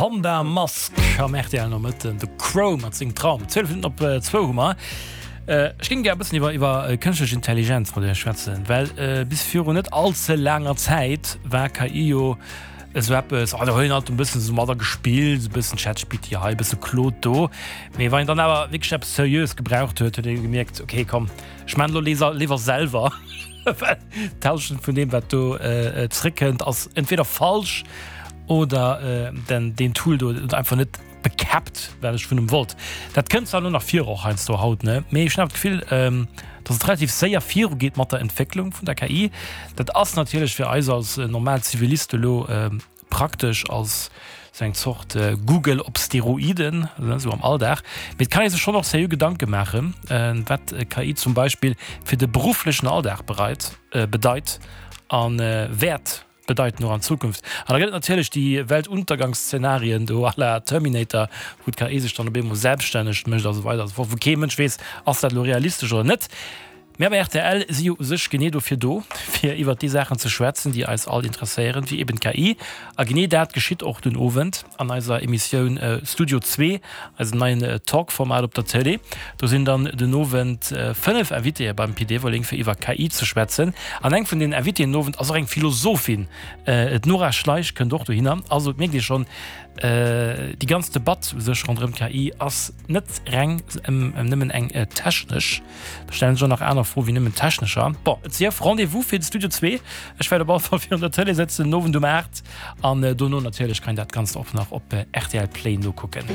Honda Mask am rtl Nomëtten, de Crow mat sengem Traum. 12 Minutten op zwou hu mer. Ech géing gär e bëssen iwwer iwwer kënschtlech Intelligenz mat Iech schwätzen, well bis virun net all ze laanger Zäit war KI jo esou eppes, oh do huet een alt e bëssen esou matter gespillt, esou e bëssen ChatGPT hei, e bësse Claude do. Mee wann een dann awer wierklech eppes Seriöes gebraucht huet, huet ee gemierkt, okay komm, ech maan elo léiwer selwer. Well d'Hallschent vun deem, wat do zréckkënnt, ass entweder falsch oder den deen Tool do huet einfach net bekäppt, wat ech vun em wollt. Dat kënnt zwar elo nach vir, och heiansdo haut, ne, mee ech hunn awer d'Gefill, datt et relativ séier virugeet mat der Entwécklung vun der KI. Dat ass natierlech fir eis als normal Ziviliste elo Praktesch als sou eng Zort Google op Steroiden, sou am Alldag. Mee et kann ee sech schonn och seriö Gedanke maachen, wat KI zum Beispill fir de berufflechen Alldag bereit, bedeit a wäert bedeiten och an Zukunft. An da gëtt et natierlech déi Weltuntergangsszenarien do à la Terminator, wou d'KI sech dann op eemol selbststänneg mécht a sou weider a sou fort, wou kee Mënsch weess, ass dat elo realistesch oder net. Mir bei rtl si jo u sech genee dofir do, fir iwwert déi Saachen ze schwätzen, déi eis all interesséieren, wéi eben d'KI. A genee dat geschitt och den Owend an eiser Emissioun Studio Zwee, eisem neien Talk-Format op der Tëlee. Do sinn dann den Owend 5 Invitéë beim Pit Everling, fir iwwer KI ze schwätzen. An eng vun den Invitéen den Owend ass och eng Philosophin, d'Nora Schleich kënnt och dohinner. Also et mierkt ee schonn, déi ganz Debatt u sech ronderëm d'KI ass net reng nëmmen eng technesch. Da stellen sech och nach aner Froe wéi nëmmen technescher. Bon, et sief, Rendez-vous fir de Studio 2. Ech wäert op alle Fall virun der Tëlee sëtzen den Owend um 8 an dono natierlech kann een dat Ganzt och nach op rtl Play nokucken.